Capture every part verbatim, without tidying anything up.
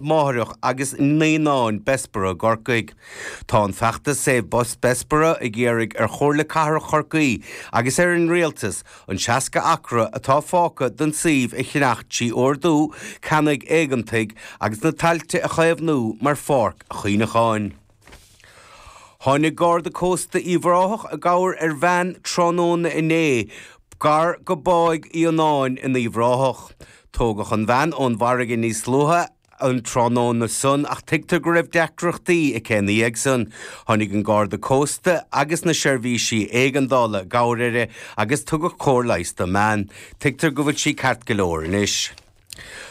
Máithreach agus Naíonáin Bessborough i gCorcaigh. Tá an feachtas Save Bus Bessborough ag iarraidh ar Chomhairle Cathrach Chorcaí agus ar an Rialtas an seasca acra atá fágtha den suíomh a cheannach trí ordú ceannaigh éigeantaigh agus na tailte a chaomhnú mar pháirc chuimhneacháin. Tháinig Garda Cósta Uíbh Ráthach i gcabhair ar bhean tráthnóna inné gar go Báigh Fhíonáin in Uíbh Ráthach. Tógadh an bhean ón bhfarraige níos luaithe an tráthnóna san ach tuigtear go raibh deacrachtaí aici ina dhiaidh san. Tháinig an Garda Cósta agus na seirbhísí éigeandála i gcabhair uirthi agus tugadh cóir leighis don mbean. Tuigtear go bhfuil sí ceart go leor anois.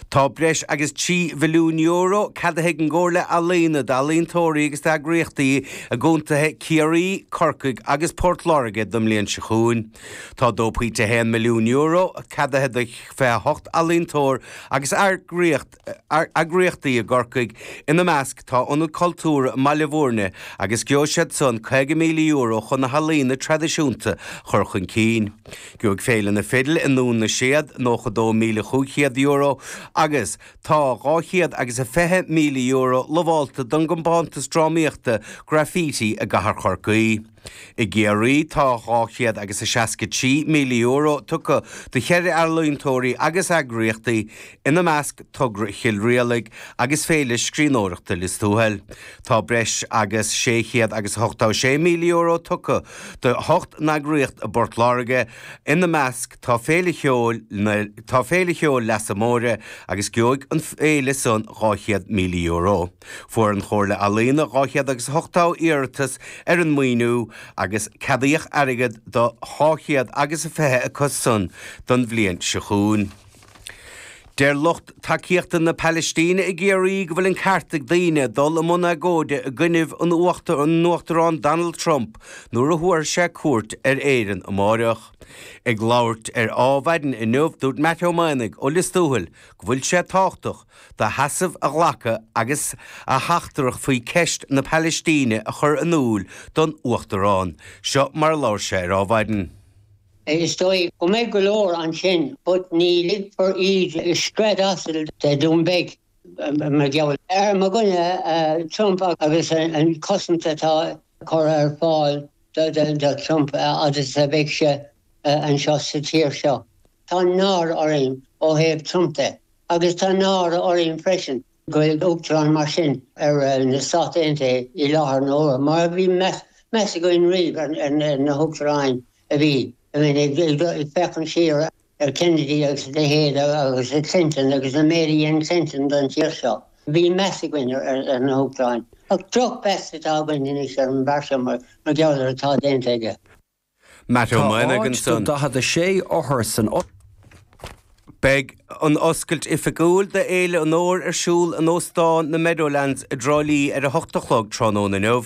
Tá breis agus trí mhilliún euro ceadaithe ag an gComhairle Ealaíona d'ealaíontóirí agus d'eagraíochtaí i gcontaetha Ciarraí, Corcaigh agus Port Láirge don mbliain seo chugainn. Tá dó pointe haon milliún euro ceadaithe do fiche a hocht ealaíontóir agus eagraíocht eagraíochtaí i gCorcaigh, ina measc tá Ionad Cultúrtha i mBaile Bhúirne agus gheobhaidh siad san caoga míle euro chun na healaíona traidisiúnta a chur chun cinn. Gheobhaidh Féile na Fidle i nDún na Séad nócha dó míle chúig chéad euro agus tá dhá chéad agus a fiche míle euro lamhálta don gcompántas drámaíochta Graffiti i gCathair Chorcaí. I gCiarraí tá dhá chéad agus a seasca trí míle euro tugtha do cheithre ealaíontóirí agus eagraíochtaí, ina measc Togra Chill Rialaig agus Féile Scríbhneoireachta Lios Tuathail. Tá breis agus sé chéad agus a hochtó sé míle euro tugtha do hocht n-eagraíocht i bPort Láirge, ina measc tá Féile Cheoil na tá Féile Cheoil Leasa Móire agus gheobhaidh an fhéile san dhá chéad míle euro. Fuair an Chomhairle Ealaíona dhá chéad agus a hochtó iarratas ar an maoiniú agus ceadaíodh airgead do dhá chéad agus a fiche acu san don bhliain seo chugainn. Deir lucht tacaíochta na Palaistíne i gCiarraí go bhfuil an ceart ag daoine dul i mbun agóide i gcoinnibh an Uachtaráin Donald Trump nuair a thabharfaidh sé cuairt ar Éirinn amáireach. Ag labhairt ar Adhmhaidin inniu, dúirt Matt Ó Maonaigh ó Lios Tuathail go bhfuil sé tábhachtach do sheasamh a ghlacadh agus a theachtaireacht faoi cheist na Palaistíne a chur in iúl don Uachtarán. Seo mar a labhair sé ar Adhmhaidin. Is dóigh go mbeidh go leor ansin but ní ligfear iad scread asail de Dún Beag mar gheall ar mo dhuine Trump agus an cosaint atá curtha ar fáil do Trump fhad is a bheidh sé anseo sa tír seo. Tá náire orainn ó thaobh Trump de agus tá náire orainn freisin go bhfuil uachtarán mar sin ar na Stáit Aontaithe i láthair na huaire, mar a bhí meas againn riamh ar na huachtaráin a bhí, I mean, ag féachaint siar ar Kennedy agus a leithéid agus Clinton agus an méid a dhein Clinton don tír seo. Bhí meas againn ar na huachtaráin. Ach drochmheas atá againn anois ar an bhfear seo mar gheall ar atá déanta aige. Matt Ó Tá Maonaigh áit do ansan. daichead a sé othar san Beidh an oscailt oifigiúil d'Fhéile an Fhómhair ar siúl in Óstán na Meadowlands i dTrá Lí ar a hocht a chlog tráthnóna inniu.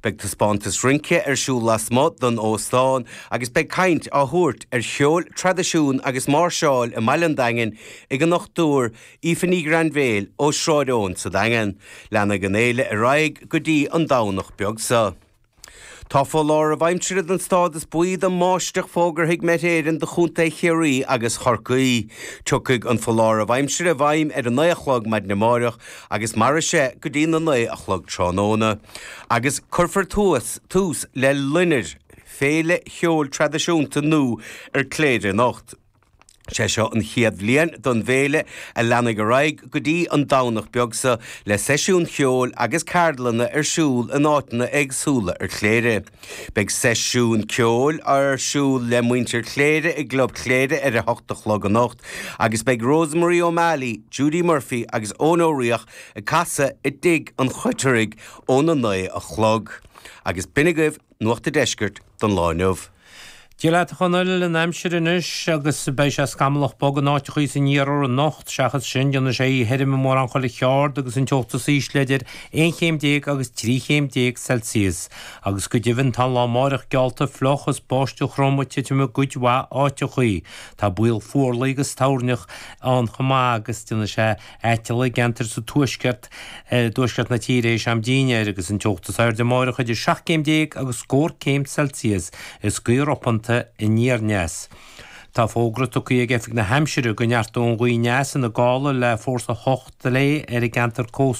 Beidh taispeántas rince ar siúl lasmuigh den óstán agus beidh caint á thabhairt ar cheol, traidisiún agus máirseáil i mbaile an Daingin ag an Dochtúir Aoife Ní Ghrainbhéil ó Shráid Eoin sa Daingean. Leanfaidh an fhéile ar aghaidh go dtí an Domhnach beag seo. Tá foláireamh aimsire den stádas buí don mbáisteach fógartha ag Met Éireann do Chontae Chiarraí agus Chorcaí. Tiocfaidh an foláireamh aimsire i bhfeidhm ar a naoi a chlog maidin amáireach agus mairfidh sé go dtí na naoi a chlog tráthnóna. Agus cuirfear tús tús le Loinnir, féile cheoil traidisiúnta nua ar Chléire anocht. Sé seo an chéad bhliain don bhféile a leanfaidh ar aghaidh go dtí an Domhnach beag seo le seisiúin cheoil agus ceardlanna ar siúl in áiteanna éagsúla ar Chléire. Beidh seisiún ceoil ar siúl le muintir Chléire i gClub Chléire ar a hocht a chlog anocht agus beidh Rosemarie O'Malley, Judy Murphy agus Eoin Ó Riach ag casadh i dTigh an Choitreaigh óna naoi a chlog. Agus b'in agaibh Nuacht an Deiscirt don lá inniu. Dia leat a Chonaill, an aimsir anois agus beidh sé scamallach bog in áiteachaí san iarthar anocht, seachas sin déanfaidh sé oíche thirim i mórán chuile cheard agus an teocht is ísle idir aon chéim déag agus trí chéim déag Celsius. Agus go deimhin tá an lá amáireach geallta fliuch is báisteach throm ag titim i gcuid mhaith áiteachaí. Tá baol fuarlaigh agus toirneach ann chomh maith agus déanfaidh sé aiteal i gceantair sa tuaisceart, i dtuaisceart na tíre théis am dinnéir agus an teocht is airde amáireach idir seacht gcéim déag agus scór céim Celsius is gaoth ropanta aniar aneas. Tá fógra tugtha ag Oifig na hAimsire go neartóidh an ghaoth aneas ina gála le fórsa hocht léi ar an gceantar cósta